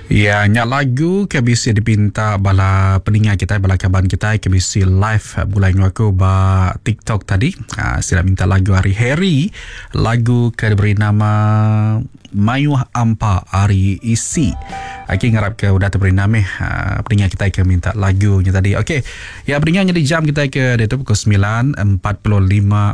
Ya nya lagu ke bisi dipinta bala peninga kitai bala kaban kitai ke bisi live begulai enggau aku ba TikTok tadi. Uh, sida minta lagu ari Harry, lagu ke diberi nama Mayuh Ampa ari Isi. Okey ngarap ke udah teperindang meh uh, peninga kitai ke minta lagu nya tadi. Okey. Ya peninga nyadi jam kitai ke diatu pukul 9.45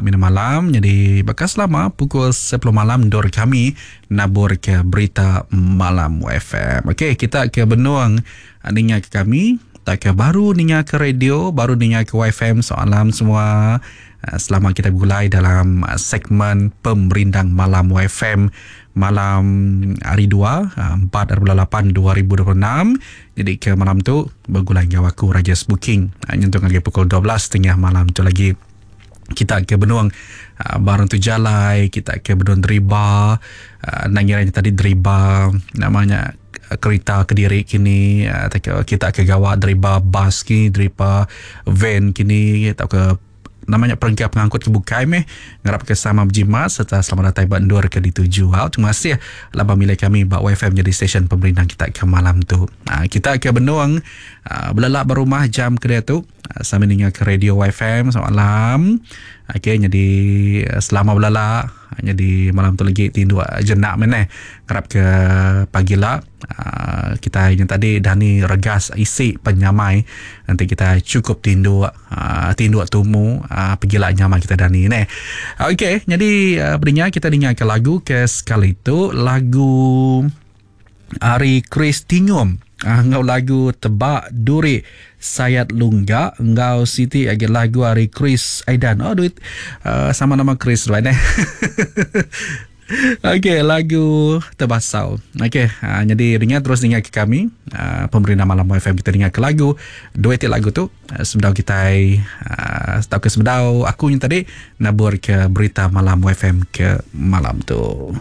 minit malam. Jadi baka selama pukul 10 malam endur kami Nabur ke berita malam FM. Okey, kita ke benung ninga ke kami, tak ke baru ninga ke radio, baru ninga ke YFM soalam semua. Eh, selama kita begulai dalam eh, segmen Pemerindang Malam YFM malam hari 2 4 8 2026. Jadi ke malam tu begulai enggau aku Rajes Booking eh, nyentuk ngagai pukul 12.30 malam tu lagi. Kita ke benung barang tu jalai, kita ke benung deriba, enda ngira nya tadi deriba nama nya kerita kediri kini tauka kita ke gawa deriba bas kini, deriba van kini tauka nama nya perengka pengangkut ke bukai meh ngarap ke sama bejimat sereta selamat datai ba endur ke dituju. Au terima kasih laban milih kami ba YFM nyadi stesen pemerindang kita ke malam tu. Kita ke benung belelak ba rumah jam ke diatu. Sambil ninga ke radio YFM selamat malam. Okey nyadi selama belala nyadi malam tu lagi tinduk jenak meh neh. Ngarap ke pagi la kitai nya tadi dani regas isi penyamai enti kitai chukup tinduk tinduk tumu pegila nyamai kitai dani neh. Okey nyadi beringa kitai ninga ke lagu ke sekali tu lagu Ari Chris Tingum enggau lagu Tebak Duri Sayat Lungga enggau siti agi lagu ari Chris Aidan. Oh duit uh, sama nama Chris right eh. Okey, lagu Tebasau. Okey, uh, jadi dengar terus dengar ke kami uh, pemerintah malam FM kita dengar ke lagu dua ti lagu tu uh, sebedau kita uh, atau ke sebedau aku yang tadi nabur ke berita malam FM ke malam tu.